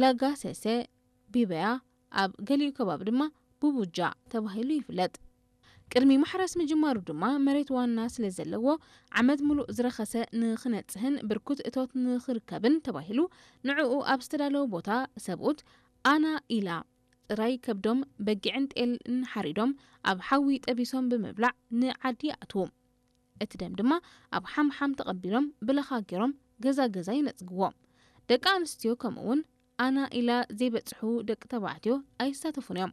ላጋሰሰ ቢበያ፣ ኣብ ገሊኡ ከባቢ ድማ ቡቡጃ ተባሂሉ ይፍለጥ። ቅድሚ ማሕረስ ምጅማሩ ድማ መሬት ዋና ስለ ዘለዎ ዓመት ሙሉእ ዝረኸሰ ንኽነጽህን ብርኩት እቶት ንኽርከብን ተባሂሉ ንዕኡ ኣብ ዝተዳለወ ቦታ ሰብኡት ኣና ኢላ ጥራይ ከብዶም በጊዕን ጤልን ሓሪዶም ኣብ ሓዊ ጠቢሶም ብምብላዕ ንዓዲ ይኣትዉ። እቲ ደም ድማ ኣብ ሓምሓም ተቐቢሎም ብለኻ ገይሮም ገዛ ገዛ ይነጽግዎ። ደቂ ኣንስትዮ ከምኡ እውን ኣና ኢላ ዘይበጽሑ ደቂ ተባዕትዮ ኣይሳተፉን እዮም።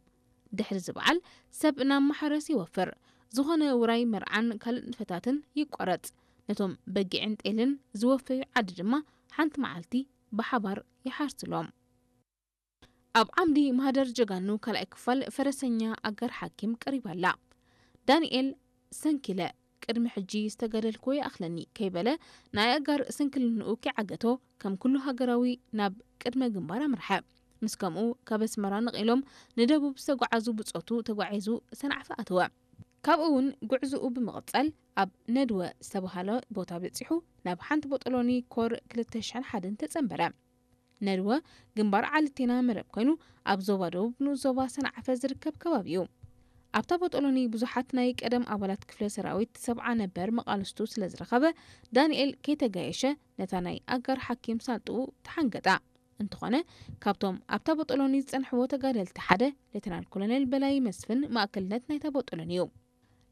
ድሕሪ እዚ በዓል ሰብ ናብ ማሕረስ ይወፍር። ዝኾነ ውራይ መርዓን ካልእ ንጥፈታትን ይቋረጽ። ነቶም በጊዕን ጤልን ዝወፈዩ ዓዲ ድማ ሓንቲ መዓልቲ ብሓባር ይሓርስሎም። ኣብ ዓምዲ ማህደር ጀጋኑ ካልኣይ ክፋል ፈረሰኛ ኣጋር ሓኪም ቀሪባ ኣላ። ዳንኤል ሰንኪለ ቅድሚ ሕጂ ዝተጋደልኩ ይኣኽለኒ ከይበለ ናይ ኣጋር ስንክልንኡ ከይዓገቶ ከም ኩሉ ሃገራዊ ናብ ቅድመ ግንባር ኣምርሐ። ምስ ከምኡ ካብ ኣስመራ ነቒሎም ንደቡብ ዝተጓዓዙ ብጾቱ ተጓዒዙ ሰንዓፈ ኣተወ። ካብኡ እውን ጉዕዝኡ ብምቕጻል ኣብ ነድወ ዝተባህለ ቦታ በጺሑ ናብ ሓንቲ ቦጦሎኒ ኮር ክልተ ሽሕን ሓደን ተጸንበረ። ነድወ ግንባር ዓልቴና መረብ ኮይኑ ኣብ ዞባ ደቡብ ንኡስ ዞባ ሰንዓፈ ዝርከብ ከባቢ እዩ። ኣብታ ቦጦሎኒ ብዙሓት ናይ ቀደም ኣባላት ክፍለ ሰራዊት ሰብዓ ነበር መቓልስቱ ስለ ዝረኸበ ዳንኤል ከይተጋየሸ ነታ ናይ ኣጋር ሓኪም ሳንጥኡ ተሓንገጣ። እንተኾነ ካብቶም ኣብታ ቦጦሎኒ ዝጸንሕዎ ተጋደልቲ ሓደ ሌተናል ኮሎኔል በላይ መስፍን ማእከልነት ናይታ ቦጦሎኒ እዩ።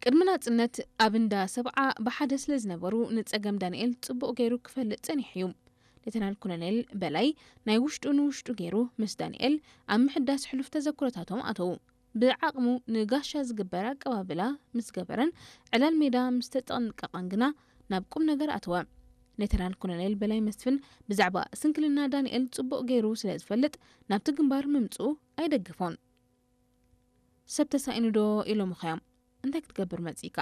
ቅድሚ ናጽነት ኣብ እንዳ ሰብዓ ብሓደ ስለ ዝነበሩ ንጸገም ዳንኤል ጽቡቕ ገይሩ ክፈልጥ ጸኒሑ እዩ። ሌተናል ኮሎኔል በላይ ናይ ውሽጡ ንውሽጡ ገይሩ ምስ ዳንኤል ኣብ ምሕዳስ ሕሉፍ ተዘክሮታቶም ኣተዉ። ብዓቕሙ ንጋሻ ዝግበር ኣቀባብላ ምስ ገበረን ዕላል ሜዳ ምስ ተጠንቀቐን ግና ናብ ቁም ነገር ኣተወ። ሌተናል ኮሎኔል በላይ መስፍን ብዛዕባ ስንክልና ዳንኤል ጽቡቕ ገይሩ ስለ ዝፈልጥ ናብቲ ግንባር ምምጽኡ ኣይደግፎን። ሰብ ተሳኢኑ ዶ ኢሎምኻ እዮም? እንታይ ክትገብር መጺእካ?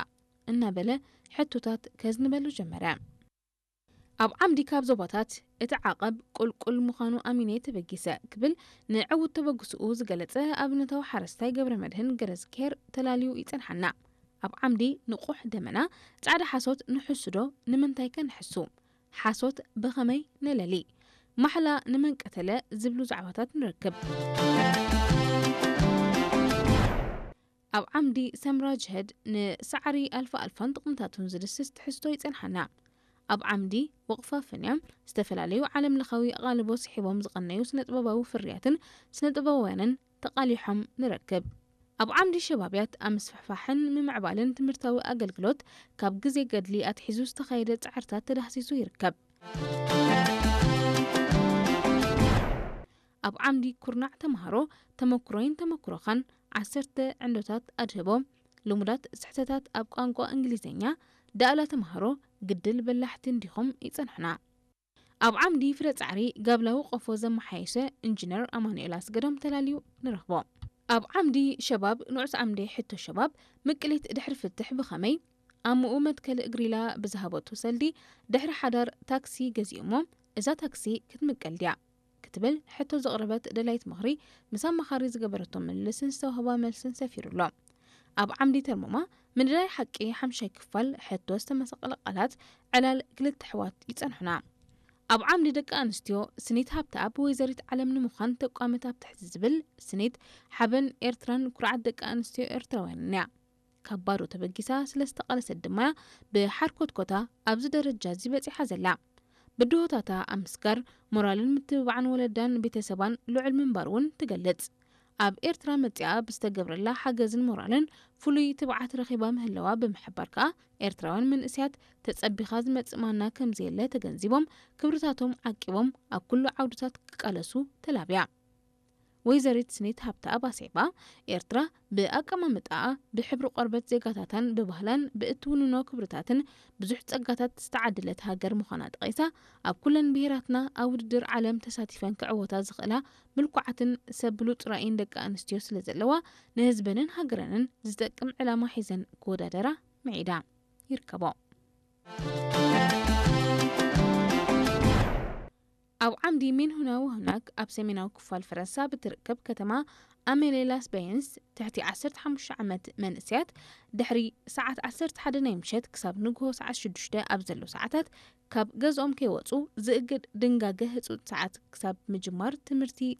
እናበለ ሕቶታት ከዝንበሉ ጀመረ። ኣብ ዓምዲ ካብ ዞባታት እቲ ዓቐብ ቁልቁል ምዃኑ ኣሚነ ተበጊሰ ክብል ንዕዉት ተበግስኡ ዝገለጸ ኣብነታዊ ሓረስታይ ገብረ መድህን ገረዝኬር ተላልዩ ይጸንሓና። ኣብ ዓምዲ ንቑሕ ደመና ጻዕዳ ሓሶት ንሕሱ ዶ ንምንታይ ከ ንሕሱ? ሓሶት ብኸመይ ንለሊ? ማሕላ ንመን ቀተለ ዝብሉ ዛዕባታት ንረክብ። ኣብ ዓምዲ ሰምራ ጅህድ ንሳዕሪ ኣልፋ ኣልፋን ጥቕምታቱን ዝድስስ ትሕዝቶ ይጸንሓና። ኣብ ዓምዲ ወቕፋ ፍንያ ዝተፈላለዩ ዓለም ለኻዊ ኣቓልቦ ስሒቦም ዝቐነዩ ስነ ጥበባዊ ፍርያትን ስነ ጥበባውያንን ተቓሊሖም ንረክብ። ኣብ ዓምዲ ሸባብያት ኣብ ምስፍሕፋሕን ምምዕባልን ትምህርታዊ ኣገልግሎት ካብ ግዜ ገድሊ ኣትሒዙ ዝተኻየደ ጻዕርታት ተዳህሲሱ ይርከብ። ኣብ ዓምዲ ኩርናዕ ተምሃሮ ተመኩሮይን ተመኩሮኻን ዓሰርተ ዕንዶታት ኣድህቦ ልሙዳት ስሕተታት ኣብ ቋንቋ እንግሊዝኛ ዳእላ ተምሃሮ ግድል በላሕቲ እንዲኹም ይጸንሑና። ኣብ ዓምዲ ፍረ ጻዕሪ ጋብላዊ ቆፎ ዘመሓየሸ ኢንጂነር ኣማኑኤል ኣስገዶም ተላልዩ ንረኽቦ። ኣብ ዓምዲ ሸባብ ንዑስ ዓምዲ ሕቶ ሸባብ ምቅሊት ድሕሪ ፍትሕ ብኸመይ ኣምኡ መትከል ግሪላ ብዝሃበቶ ሰልዲ ድሕሪ ሓዳር ታክሲ ገዚኦሞ እዛ ታክሲ ክትምቀል ድያ ክትብል ሕቶ ዘቕረበት ደላይት ምኽሪ ምስ ኣማኻሪ ዝገበረቶ ምልልስን ዝተዋህባ መልስን ሰፊሩ ኣሎ። ኣብ ዓምዲ ተርሞማ ምድላይ ሓቂ ሓምሻይ ክፋል ሕቶ ዝተመሰቐለ ቃላት ዕላል ክልተ ኣሕዋት ይጸንሑና። ኣብ ዓምዲ ደቂ ኣንስትዮ ስኒት ሃብተኣብ ወይዘሪት ዓለም ንምዃን ተቋመት ኣብ ትሕቲ ዝብል ስኒት ሓበን ኤርትራን ኩርዓት ደቂ ኣንስትዮ ኤርትራውያንን እያ። ካብ ባዶ ተበጊሳ ስለ ዝተቓለሰት ድማ እያ ብሓርኮትኮታ ኣብዚ ደረጃ እዚ በጺሓ ዘላ። ብድሆታታ ኣብ ምስጋር ሞራልን ምትብባዕን ወለዳን ቤተሰባን ልዑል ምንባር እውን ትገልጽ። ኣብ ኤርትራ መጺኣ ብዝተገብረላ ሓገዝን ሞራልን ፍሉይ ትብዓት ረኺባ ምህላዋ ብምሕባር ከኣ ኤርትራውያን መንእሰያት ተጸቢኻ ዝመጽእ ማና ከምዘየለ ተገንዚቦም ክብርታቶም ዓቂቦም ኣብ ኩሉ ዓውድታት ክቃለሱ ተላብያ። ወይዘሪት ስኒት ሃብተኣብ ኣስዒባ ኤርትራ ብኣቀማምጣኣ ብሕብሪ ቆርበት ዜጋታታን ብባህላን ብእትውንኖ ክብርታትን ብዙሕ ጸጋታት ዝተዓደለት ሃገር ምዃና ጠቒሳ ኣብ ኩለን ብሄራትና ኣብ ውድድር ዓለም ተሳቲፈን ክዕወታ ዝኽእላ ምልኩዓትን ሰብ ብሉጽ ራእይን ደቂ ኣንስትዮ ስለ ዘለዋ ንህዝበንን ሃገረንን ዝጠቅም ዕላማ ሒዘን ክወዳደራ ምዒዳ ይርከቦ። ኣብ ዓምዲ ሜንሁና ወህናክ ኣብ ሰሜናዊ ክፋል ፈረንሳ ብትርከብ ከተማ ኣሜሌ ላስ በየንስ ትሕቲ ዓሰርተ ሓሙሽተ ዓመት መንእሰያት ድሕሪ ሰዓት ዓሰርተ ሓደ ናይ ምሸት ክሳብ ንግሆ ሰዓት ሽዱሽተ ኣብ ዘሎ ሰዓታት ካብ ገዝኦም ከይወጹ ዝእግድ ድንጋገ ህጹጽ ሰዓት ክሳብ ምጅማር ትምህርቲ